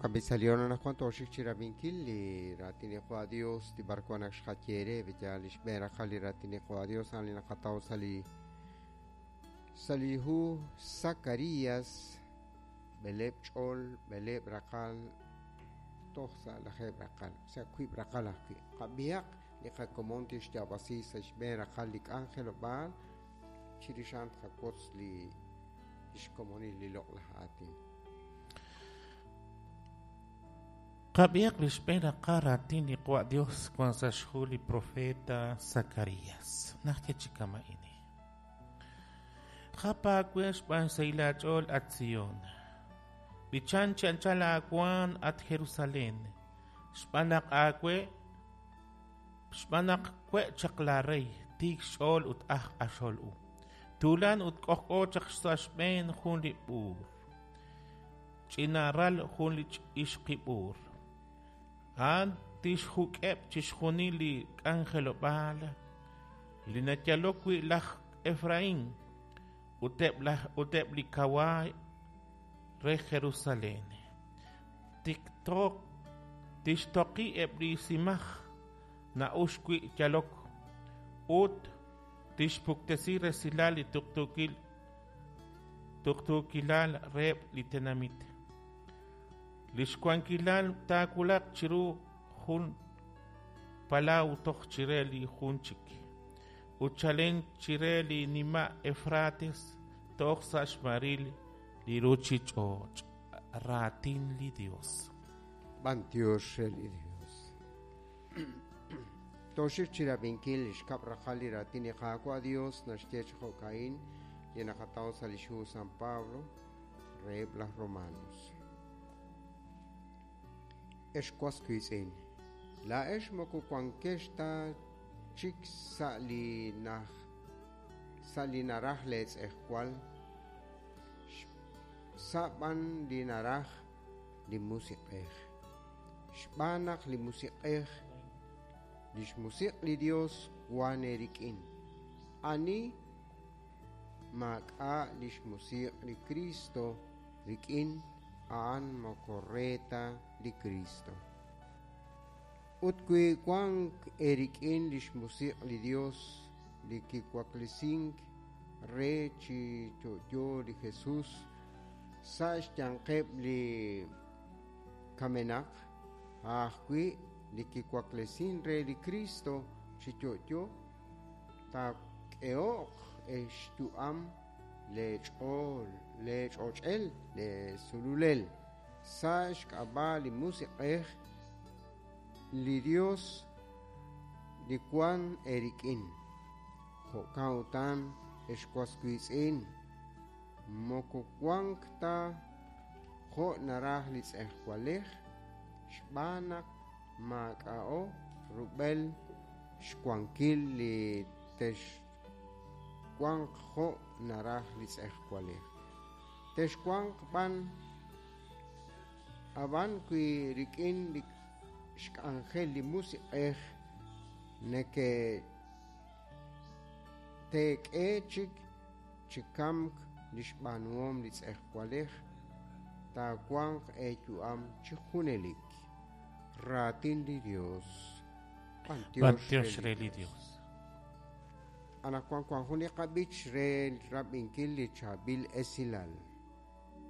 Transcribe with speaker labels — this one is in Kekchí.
Speaker 1: Jo'kan b'i' sa' li hoor anaqwan tooxik chi rab'inkil li raatin li Qaawa' Dios li b'arwan ak xqaye eere b'eyaal li xb'een raqal li raatin li Qaawa' Dios a'an li naqataw sa' li sa' li hu Zacarías b'eleeb' ch'ol b'eleeb' raqal toj sa' lajeeb' raqal sa' wiib' raqal ajwi' qab'ihaq li qakomon tixyaab'asi sa' xb'een raqal li k'anjelob'aal chirix a'an tqawotz li xkomonil li loq'laj aatin.
Speaker 2: Qab'ihaq li xb'een raqal raatin li Qaawa' Dios wan sa' xhu li profeta Zacarías. Naxye chi kama'ini. Jap aawe xb'aan xsahil aach'ool, at Sion. B'ichan chi anchal aawaanm, at Jerusalén, xb'aan naq aawe xb'aan naq we' chaq laarey, tiik xch'ool ut aj q'axol u. Tuulan ut k'ojk'o chaq sa' xb'een jun li b'uur. Ch'ina ral jun li ixqi b'uur. A'an tixjuk'eb' chixjunil li k'anjelob'aal li nayalok wi' laj Efraín ut eb' laj ut eb' li kawaay re Jerusalén. Tikto tixtoqi eb' li simaj na'uxk wi' yalok ut tixpuktesi resilal li tuqtuukil tuqtuukilal reheb' li tenamit. Li xwankilal taawulaq chiru jun palaw toj chire li jun chik, ut chalen chire li nima' Efrates toj sa' xmaril li ruuchich'och'. Raatin li Yos.
Speaker 1: B'antiox re li Dios. Tooxik chi rab'inkil li xkab' raqal li raatin li Qaawa' Dios naxye chi jo'ka'in li naqataw sa' li xhu San Pablo reheb' laj Romanos. Ex was wiitz'in, laa'ex moko wankex ta chik sa' li naj sa' li naraj leetz'ejwal, sa' b'an li naraj li Musiq'ej. Xb'aan naq li Musiq'ej, li xmusiq' li Dios wan eerik'in. Ani maak'a' li xmusiq' li Kristo rik'in, a'an moko re ta li Kristo. Ut wi wank eerik'in li xmusiq' li Dios li kiwaklesink re chi yo'yo li Jesus sa' xyanqeb' li kamenaq, a' ajwi' li kiwaklesin re li Kristo chi yo'yo, taak'ehoq xyu'am leech'ool leech'och'el leesululel sa' xk'ab'a' li Musiq'ej li Dios li wan eerik'in. Jo'kan utan, ex was wiitz'in, moko wank ta jo' naraj li tz'ejwalej xb'aan naq maak'a'o rub'el xwankil li texwanq jo' naraj li tz'ejwalej. Texwanq b'an ab'an wi rik'in li xk'anjel li Musiq'ej neke teek'e chik chi kamk li xb'aanuhom li tz'ejwalej, taawanq eeyu'am chi junelik. Raatin li Dios.
Speaker 2: B'antiox re li Dios.
Speaker 1: Anaqwan wan jun li qab'ich re rab'inkil li chaab'il esilal.